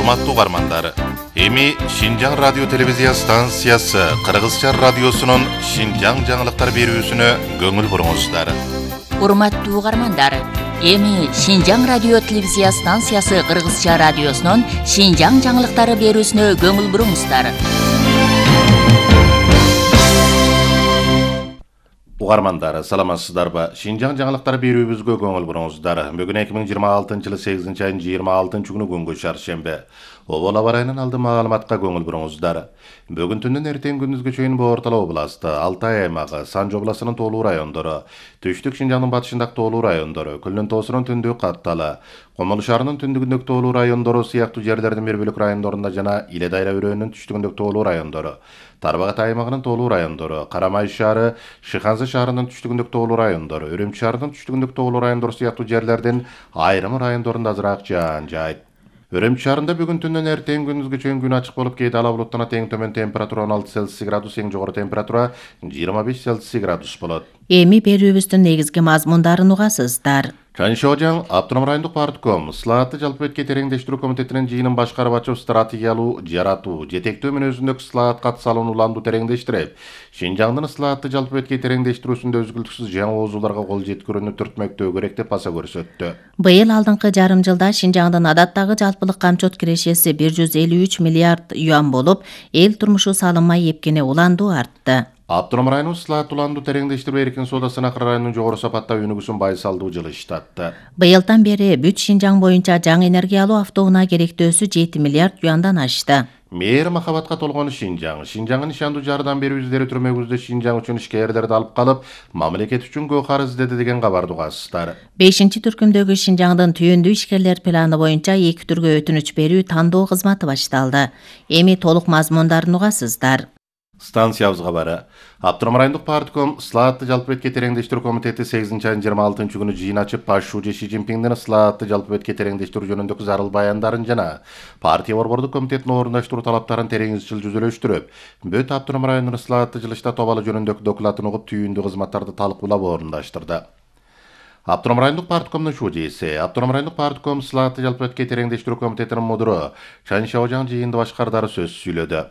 Урматтуу угармандар, эми Шинжаң радио телевизия станциясы Кыргызча радиосунун Шинжаң жаңылыктар берүүсүнө көңүл буруңуздар. Урматтуу угармандар, эми Шинжаң радио телевизия станциясы Кыргызча радиосунун Шинжаң жаңылыктары берүүсүнө көңүл буруңуздар. Угармандар, саламатсыздарбы? Шинжаң жаңылыктар берүүбүзгө көңүл буруңуздар. Бүгүн 2026-жылы 8 айынын 26-күнү күнгө шаршемби. Обол аба ырайынын алды маалыматка көңүл буруңуздар. Бүгүн түндүн эртең күндүзгө чейин Боортала областы, Алтай аймагы, Санжы областынын тоолуу райондору, Түштүк Шинжаңдын батышындагы тоолуу райондору, Күлнүн тоосунун түндүгү Катталы, Комол шаарынын түндүгүндөгү тоолуу райондору сыяктуу жерлердин бир бөлүк райондорунда жана Иле Дайра өрөөнүнүн түштүгүндөгү тоолуу райондору, Тарбагат аймагынын тоолуу райондору, Карамай шаары, Шыханзы шаарынын түштүгүндөгү тоолуу райондору, Үрүмчү шаарынын түштүгүндөгү тоолуу райондору сыяктуу жерлердин айрым райондорунда азыраак жаан жайт. Үрүмчү шаарында бүгүн түндөн эртең күндүзгө чейин күн ачык болуп, кээде ала булуттана тең төмөн температура 16 Цельсий градус, эң жогору температура 25 Цельсий градус болот. Эми берүүбүздүн негизги мазмундарын угасыздар. Чаншожаң Автоном райондук партком Слаатты жалпы бетке тереңдештирүү комитетинин жыйынын башкарып ачып, стратегиялуу жаратуу, жетектөө мүнөзүндөгү Слаат катысалууну уланду тереңдештирип, Шинжаңдын Слаатты жалпы бетке тереңдештирүүсүндө үзгүлтүксүз жаңы оозуларга кол жеткирүүнү түртмөктөө керек деп баса көрсөттү. Быйыл алдыңкы жарым жылда Шинжаңдын адаттагы жалпылык камчот кирешеси 153 миллиард юан болуп, эл турмушу салынмай эпкене уланду артты. Автоном районун Слаат уланду тереңдештирүү эркин соодасына Акыр районунун жогору сапаттагы өнүгүүсүн байсалдуу жылыштатты. Быйылдан бери бүт Шинжаң боюнча жаңы энергиялуу автоунаа керектөөсү 7 миллиард юандан ашты. Мээр махабатка толгон Шинжаңын ишандуу жардам берүү издери түрмөгүздө Шинжаң үчүн ишкерлерди алып калып, мамлекет үчүн көкар издеди деген кабарды угасыздар. 5-түркүмдөгү Шинжаңдын түйүндүү ишкерлер планы боюнча 2 түргө өтүнүч берүү тандоо кызматы башталды. Эми толук мазмундарын угасыздар. Станциябызга бары. Автоном райондук партком Слаатты жалпы бетке тереңдештирүү комитети 8 айынын 26-күнү жыйын ачып, Пашшуучу Ши Цзиньпиңдин Слаатты жалпы бетке тереңдештирүү жөнүндөгү зарыл баяндарын жана партия борбордук комитетинин орундаштыруу талаптарын терең изчил жүзөлөштүрүп, бүт Автоном районунун Слаатты жылышта тобалы жөнүндөгү докладын угуп, түйүндүү кызматтарды талкуулап орундаштырды. Автоном райондук парткомдун шужеси, Автоном райондук партком Слаатты жалпы бетке тереңдештирүү комитетинин мудуру Чаншожаң жыйынды башкардары сөз сүйлөдү.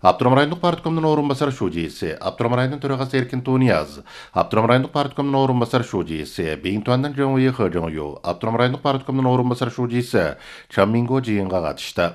Автоном райондук парткомдун орун басар шужеси, Автоном районунун төрагасы Эркин Тунияз, Автоном райондук парткомдун орун басар шужеси, Бейинтуандан Жоңуй Хожоңю, Автоном райондук парткомдун орун басар шужеси Чамминго жыйынга катышты.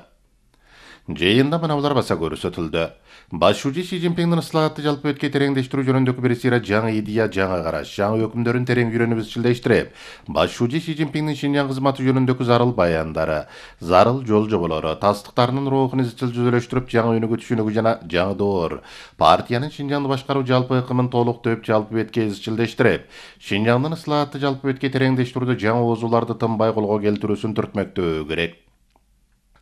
Жыйында мына баса көрсөтүлдү. Баш шужи Ши Цзиньпиңдин Слаатты жалпы бетке тереңдештирүү жөнүндөгү бир сыйра жаңы идея, жаңы караш, жаңы өкүмдөрүн терең үйрөнүп изчилдештирип, баш шужи Ши Цзиньпиңдин Шинжаң кызматы жөнүндөгү зарыл баяндары, зарыл жол жоболору, тастыктарынын рухун изчил жүзөлөштүрүп, жаңы өнүгүү түшүнүгү жана жаңы доор, партиянын Шинжаңды башкаруу жалпы ыкымын толуктоп, жалпы бетке изчилдештирип, Шинжаңдын Слаатты жалпы бетке тереңдештирүүдө жаңы оозуларды тынбай колго келтирүүсүн түртмөктөө керек.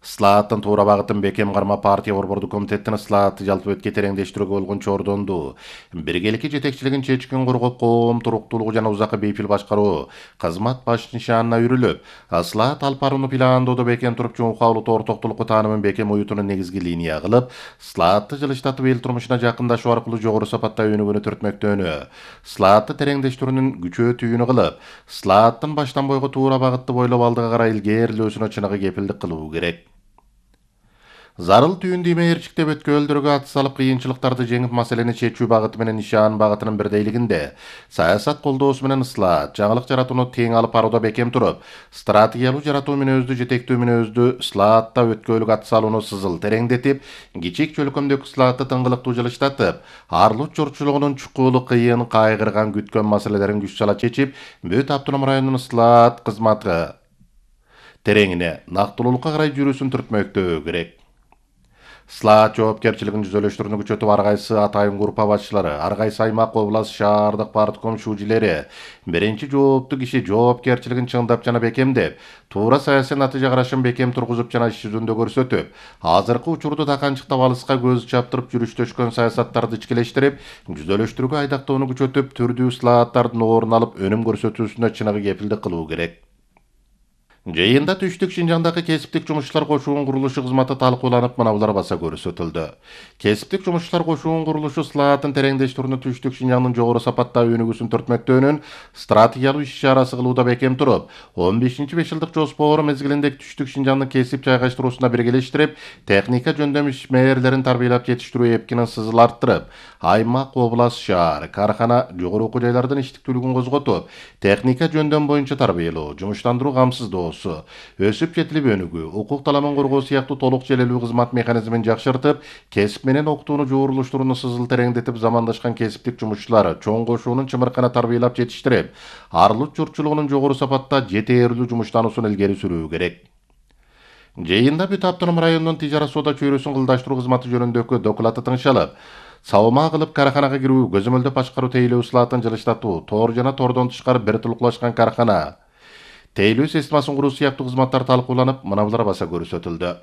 Слааттын туура багытын бекем карма партия борбордук комитетинин Слаатты жалпы бетке тереңдештирүүгө болгон чордонду, биргеликки жетекчилигин чечкин коргоп, коом туруктуулугу жана узакка бейпил башкаруу кызмат баш нишанына үрүлүп, Слаат алып барууну пландоодо бекем туруп, чоңкаулуу ортоктулукку таанымын бекем уютууну негизги линия кылып, Слаатты жылыштатып эл турмушуна жакындашуу аркылуу жогору сапатта өнүгүүнү түртмөктөнү, Слаатты тереңдештирүүнүн күчөөтүүнү кылып, Слааттын баштан бойго туура багытты бойлоп алдыга карай илгээрлөөсүнө чыныгы кепилдик кылуу керек. Зарыл түйүндүү мээрчиктеп өткөлдөргө ат салып, кыйынчылыктарды жеңип, маселени чечүү багыты менен нишан багытынын бирдейлигинде саясат колдоосу менен Слаат жаңылык жаратууну тең алып барууда бекем туруп, стратегиялуу жаратуу мүнөздүү, жетектөө мүнөздүү Слаатта өткөлүк ат салууну сызыл тереңдетип, кичик чөлкөмдөгү Слаатты тыңгылыктуу жылыштатып, Арлут журтчулугунун чукулу, кыйын, кайгырган, күткөн маселелерин күч сала чечип, бүт Автоном районунун Слаат кызматы тереңине, нактылуулукка карай жүрүүсүн түртмөктөө керек. Слаат жоопкерчилигин жүзөлөштүрүүнү күчөтүп, ар кайсы атайын группа башчылары, ар кайсы аймак, област, шаардык партком шужилери, биринчи жооптуу киши жоопкерчилигин чыңдап жана бекемдеп, туура саясий натыйжа карашын бекем тургузуп жана иш жүзүндө көрсөтүп, азыркы учурду таканчыктап, алыска көз чаптырып жүрүштөшкөн саясаттарды ичкилештирип, жүзөлөштүрүүгө айдактоону күчөтүп, түрдүү Слааттардын орун алып, өнүм көрсөтүүсүнө чыныгы кепилдик кылуу керек. Жыйында Түштүк Шинжаңдагы кесиптик жумушчулар кошуунун курулушу кызматы талкууланып, мыналар баса көрсөтүлдү. Кесиптик жумушчулар кошуунун курулушу слаатын тереңдештирүүнү Түштүк Шинжаңдын жогору сапаттагы өнүгүүсүн төртмөктөөнүн стратегиялык иш-чарасы кылууда бекем туруп, 15-5 жылдык жоспору мезгилинде Түштүк Шинжаңдын кесип жайгаштыруусуна биргелештирип, техника жөндөм ишмерлерин тарбиялап жетиштирүү эпкинин сызыл арттырып, аймак, област, шаар, кархана, жогору окуу жайлардын иштиктүүлүгүн козготуп, техника жөндөм боюнча тарбиялоо, жумуштандыруу камсыздоо, өсүп жетилип өнүгүү, укук таламын коргоо сыяктуу толук желелүү кызмат механизмин жакшыртып, кесип менен окутууну жуурулуштурууну сызыл тереңдетип, замандашкан кесиптик жумушчулар чоң кошуунун чымыркана тарбиялап жетиштирип, арылык журтчулугунун жогору сапатта жетээрлүү жумуштануусун илгери сүрүү керек. Жыйында Бүт автоном районунун тижара соода чөйрөсүн кылдаштыруу кызматы жөнүндөгү доклаты тыңшалып, сабыма кылып карханага кирүү, көзөмөлдөп башкаруу тейлөө слаатын жылыштатуу, тоор жана тоордон тышкары бир тулуклашкан кархана, тейлөө системасын куруу сыяктуу кызматтар талкууланып, мыналар баса көрсөтүлдү.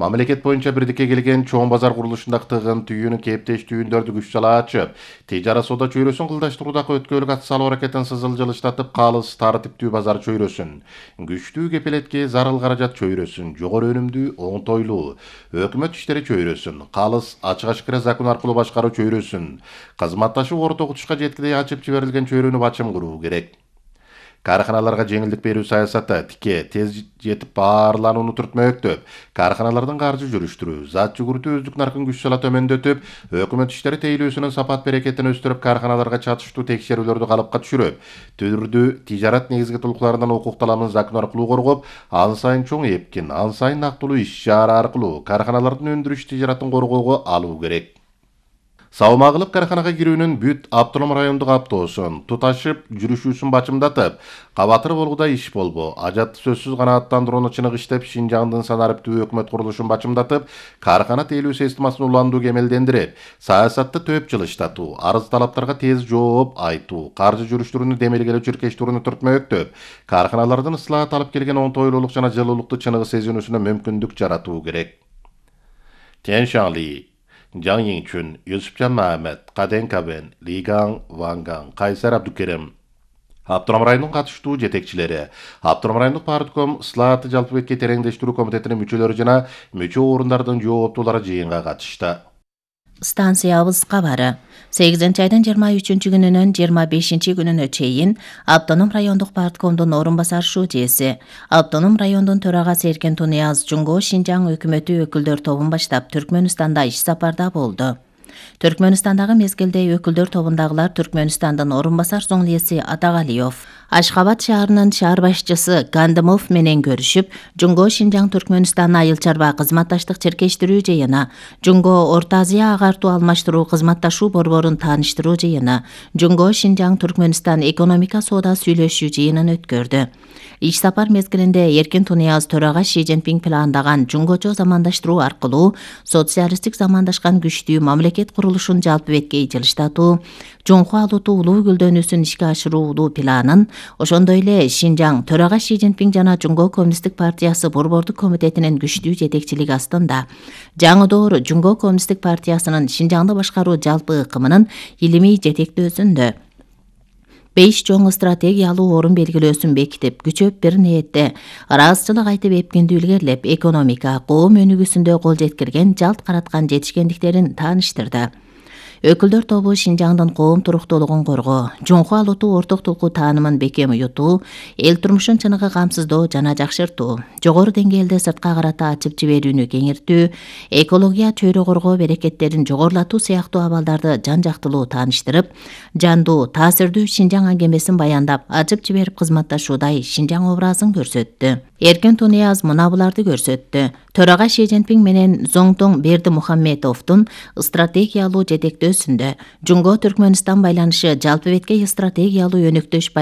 Мамлекет боюнча бирдикке келген чоң базар курулушундагы тыгын түйүүнү кептештүүндөрдү күч сала ачып, тижара соода чөйрөсүн кылдаштыруудагы өткөлүк ат салуу аракетин сызыл жылыштатып, калыс, тартиптүү базар чөйрөсүн, күчтүү кепелетке зарыл каражат чөйрөсүн, жогору өнүмдүү, оңтойлуу өкмөт иштери чөйрөсүн, калыс, ачык ашкыра закон аркылуу башкаруу чөйрөсүн, кызматташуу орто окутушка жеткидей ачып жиберилген чөйрөнү бачым куруу керек. Карханаларга жеңилдик берүү саясаты тике тез жетип баарланууну түртмөктөп, карханалардын каржы жүрүштүрүү, зат жүгүртүү өздүк наркын күч сала төмөндөтүп, өкмөт иштери тейлөөсүнүн сапат берекетин өстүрүп, карханаларга чатыштуу текшерүүлөрдү калыпка түшүрүп, түрдүү тижарат негизги тулуктарынан укук таламын закон аркылуу коргоп, ан сайын чоң эпкин, ан сайын нактылуу иш-чара аркылуу карханалардын өндүрүш тижаратын коргоого алуу керек. Сабыма кылып карханага кирүүнүн Бүт автоном райондук автоосун туташып жүрүшүүсүн бачымдатып, кабатыр болгуда иш болбо, ажатты сөзсүз канааттандырууну чыныгы иштеп, Шинжаңдын санариптүү өкмөт курулушун бачымдатып, кархана тейлөө системасын уландуу кемелдендирип, саясатты төп жылыштатуу, арыз талаптарга тез жооп айтуу, каржы жүрүштүрүүнү демелгелөө чиркештирүүнү түртмөктөп, карханалардын ыслаат алып келген оңтойлуулук жана жылуулукту чыныгы сезинүүсүнө мүмкүндүк жаратуу керек. Тен Шаңли, Жан Йиңчүн, Юсупжан Махмет, Каден Кабен, Лигаң Ванган, Кайсар Абдукерим, Автоном районунун катыштуу жетекчилери, Автоном райондук партком слааты жалпы бетке тереңдештирүү комитетинин мүчөлөрү жана мүчө орундардын жооптуулары жыйынга катышты. Станциябыз кабары 8-айдын 23-күнүнөн 25-күнүнө чейин Автоном райондук парткомдун орун басар шүүжеси, Автоном райондун төрагасы Эркен Тунияз Жумго Шинжаң өкмөтү өкүлдөр тобун баштап Түркмөнстанда иш сапарда болду. Түркмөнстандагы мезгилде өкүлдөр тобундагылар Түркмөнстандын орун басар зоңлиеси Атагалиев, Ашхабад шаарынын шаар башчысы Гандымов менен көрүшүп, Жумго Шинжаң Түркмөнстан айыл чарба кызматташтык чиркештирүү жыйыны, Жумго Орто Азия агартуу алмаштыруу кызматташуу борборун тааныштыруу жыйыны, Жумго Шинжаң Түркмөнстан экономика соода сүйлөшүү жыйынын өткөрдү. Иш сапар мезгилинде Эркен Тунияз төрага Ши Цзиньпин пландаган жумгочо замандаштыруу аркылуу социалисттик замандашкан күчтүү мамлекет курулушун жалпы бетке жылыштатуу, Жунхуа Алуту улуу гүлдөнүүсүн ишке ашыруулуу планын, ошондой эле Шинжаң төрага Ши Цзиньпин жана Жумго Коммунисттик партиясы борбордук комитетинин күчтүү жетекчилиги астында жаңы доор Жумго Коммунисттик партиясынын Шинжаңды башкаруу жалпы ыкымынын илимий жетектөөсүндө 5 чоң стратегиялуу орун белгилөөсүн бекитип, күчөп бир ниетте ыраазычылык айтып эпкинди илгерлеп, экономика, коом өнүгүүсүндө кол жеткирген, жалт караткан жетишкендиктерин тааныштырды. Өкүлдөр тобу Шинжаңдын коом туруктуулугун коргоо, Жунхуа Алуту орток тулкуу таанымын бекем уютуу, эл турмушун чыныгы камсыздоо жана жакшыртуу, жогору деңгээлде сыртка карата ачып жиберүүнү кеңиртүү, экология, чөйрө коргоо берекеттерин жогорулатуу сыяктуу абалдарды жан-жактылуу тааныштырып, жандуу, таасирдүү Шинжаң аңгемесин баяндап, ачып жиберип кызматташуудай Шинжаң образын көрсөттү. Эркен Тунияз мына буларды көрсөттү. Төрага Ши Цзиньпин менен Зоңтоң Бердимухамедовдун стратегиялуу жетектөөсүндө Жумго Түркмөнстан байланышы жалпы бетке стратегиялуу өнөктөш